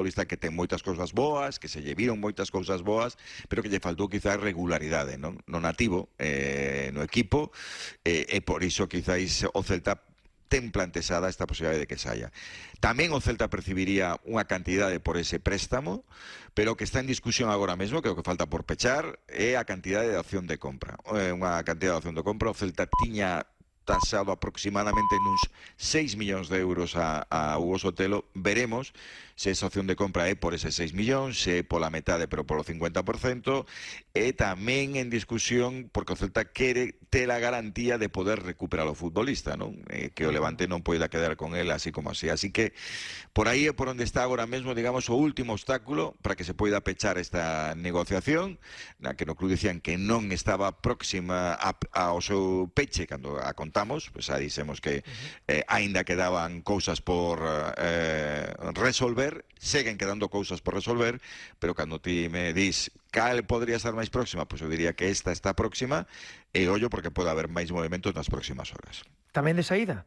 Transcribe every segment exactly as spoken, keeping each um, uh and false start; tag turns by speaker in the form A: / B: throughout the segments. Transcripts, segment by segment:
A: futbolista que ten moitas cousas boas, que se lle viron moitas cousas boas, pero que lle faltou quizás regularidade, non? No nativo, eh, no equipo, eh, e por iso quizáis o Celta ten plantexada esta posibilidade de que saia. Tamén o Celta percibiría unha cantidade por ese préstamo, pero o que está en discusión agora mesmo, que o que falta por pechar, é a cantidade de opción de compra. Eh, unha cantidade de opción de compra, o Celta tiña tasado aproximadamente nuns seis millóns de euros a, a Hugo Sotelo. Veremos se esa opción de compra é por eses seis millóns, se é pola metade pero polo cincuenta por cento, e tamén en discusión porque o Celta quere ter a garantía de poder recuperar o futbolista, non? Eh, que o Levante non poida quedar con él así como así. Así que por aí é por onde está agora mesmo, digamos, o último obstáculo para que se poida pechar esta negociación, na que no club dicían que non estaba próxima a, ao seu peche cando a contamos, pois pues, aí dixemos que eh, aínda quedaban cousas por eh, resolver, seguen quedando cousas por resolver, pero cando ti me dis cal podría estar máis próxima, pois pues eu diría que esta está próxima, e ollo porque pode haber máis movimentos nas próximas horas.
B: Tamén de saída?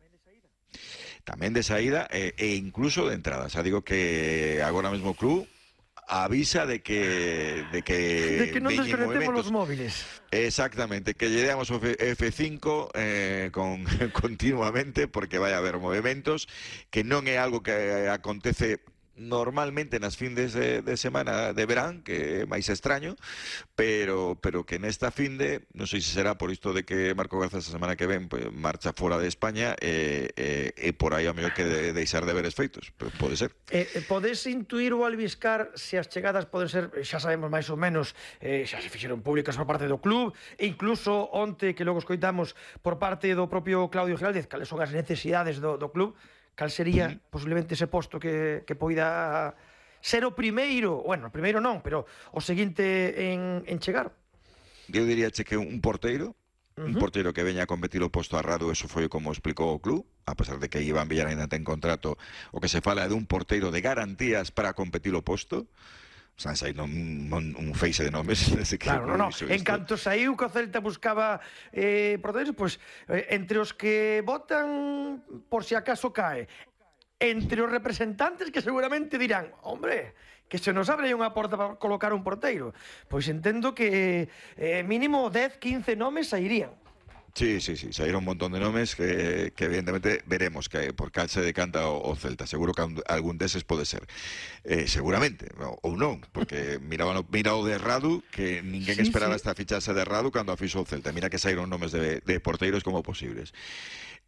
A: Tamén de saída e, e incluso de entrada. Xa digo que agora mesmo o club avisa de que de que,
B: de que non desconectemos os móviles.
A: Exactamente, que lle damos o F cinco eh, con, continuamente, porque vai haber movimentos, que non é algo que acontece normalmente nas findes de, de semana de verán, que é máis extraño, pero pero que nesta finde, non sei se será por isto de que Marco Garza esta semana que ven pues, marcha fora de España e, e, e por aí a mellor que de, deixar de ver efeitos, pero pode ser.
B: Eh, podes intuir ou albiscar se as chegadas poden ser, xa sabemos máis ou menos, eh, xa se fixeron públicas por parte do club, e incluso onte que logo escoitamos por parte do propio Claudio Giraldez, cales son as necesidades do, do club, cal sería uh -huh. posiblemente ese posto que, que poida ser o primeiro, bueno, o primeiro non, pero o seguinte en, en chegar?
A: Eu diría che que un porteiro, uh -huh. un porteiro que veña a competir o posto a Radu, eso foi como explicou o club, a pesar de que Iván Villar ainda ten contrato, o que se fala é dun porteiro de garantías para competir o posto. O sea, hai un, un, un feixe de nomes desde que
B: claro, no, no. En canto saiu que o Celta buscaba eh, porteros, pois pues, eh, entre os que votan por si acaso cae, entre os representantes que seguramente dirán, hombre, que se nos abre unha porta para colocar un porteiro, pois entendo que eh, mínimo dez, quince nomes sairían.
A: Sí, sí, sí, saíron un montón de nomes que, que evidentemente veremos que por cal se decanta o, o Celta. Seguro que algún deses pode ser. Eh, seguramente, ou non, porque mira, mira o de Radu, que ninguén sí, esperaba sí. esta fichase de Radu cando afixo o Celta. Mira que saíron nomes de, de porteiros como posibles.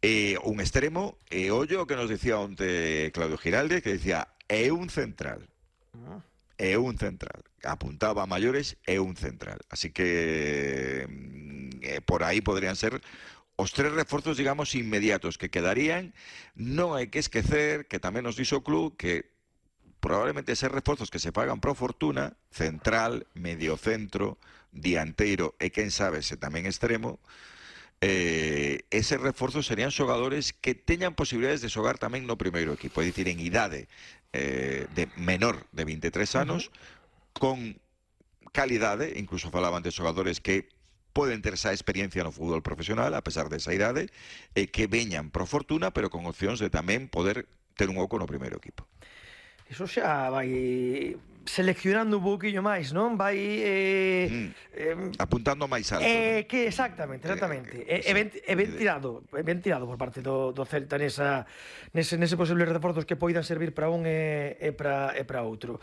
A: Eh, un extremo, e eh, ollo que nos dicía onte Claudio Giraldez, que dicía, é un central. Ah. É un central. Apuntaba a maiores, é un central. Así que eh, por aí podrían ser os tres reforzos, digamos, inmediatos que quedarían. Non hai que esquecer que tamén nos dixo o club que probablemente eses reforzos que se pagan pro fortuna, central, mediocentro, dianteiro e quen sabe se tamén extremo, eh, eses reforzos serían xogadores que teñan posibilidades de xogar tamén no primeiro equipo, é dicir, en idade eh, de menor de vinte e tres anos, uh-huh. con calidade, incluso falaban de xogadores que poden ter esa experiencia no fútbol profesional a pesar desa idade, e que veñan pro fortuna pero con opcións de tamén poder ter un oco no primeiro equipo.
B: Iso xa vai seleccionando un pouquinho máis, non? Vai eh,
A: mm, eh, apuntando máis alto.
B: Eh, ¿no? Que exactamente, exactamente. Eh, eh, é ben, é ben tirado, é ben tirado por parte do, do Celta nesa nese nese posibles reforzos que poidan servir para un e, e para e para outro.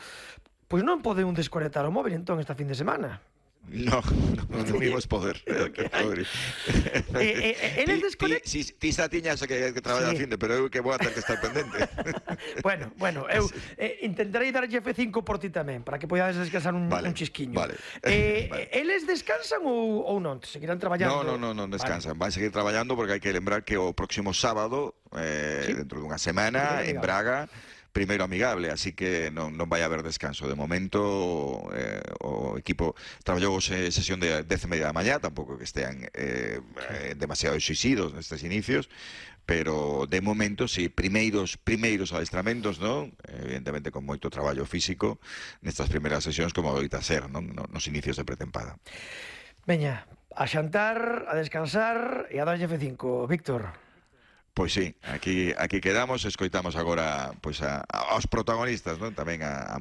B: Pois non pode un desconectar o móvil entón esta fin de semana.
A: No, no, non imos poder.
B: Eles desconectan.
A: Ti xa tiñas que traballar a finde, pero eu que vou a ter que estar pendente.
B: Bueno, bueno, eu intentarei darlle F cinco por ti tamén, para que podades descansar un chisquiño.
A: Vale.
B: Eles descansan ou non? Seguirán traballando?
A: No, no, non descansan. Van seguir traballando porque hai que lembrar que o próximo sábado, dentro dunha semana, en Braga, primeiro amigable, así que non, non vai haber descanso. De momento eh, o equipo traballou se, sesión de dez e media da mañá, tampouco que estean eh, eh, demasiado exixidos nestes inicios, pero de momento, si, sí, primeiros primeiros adestramentos, non? Evidentemente con moito traballo físico nestas primeiras sesións como adoita ser, non? Nos inicios de pretempada.
B: Veña, a xantar, a descansar e a darlle F cinco, Víctor.
A: Pois sí, aquí aquí quedamos, escoitamos agora pois a, aos protagonistas, non? Tamén a, a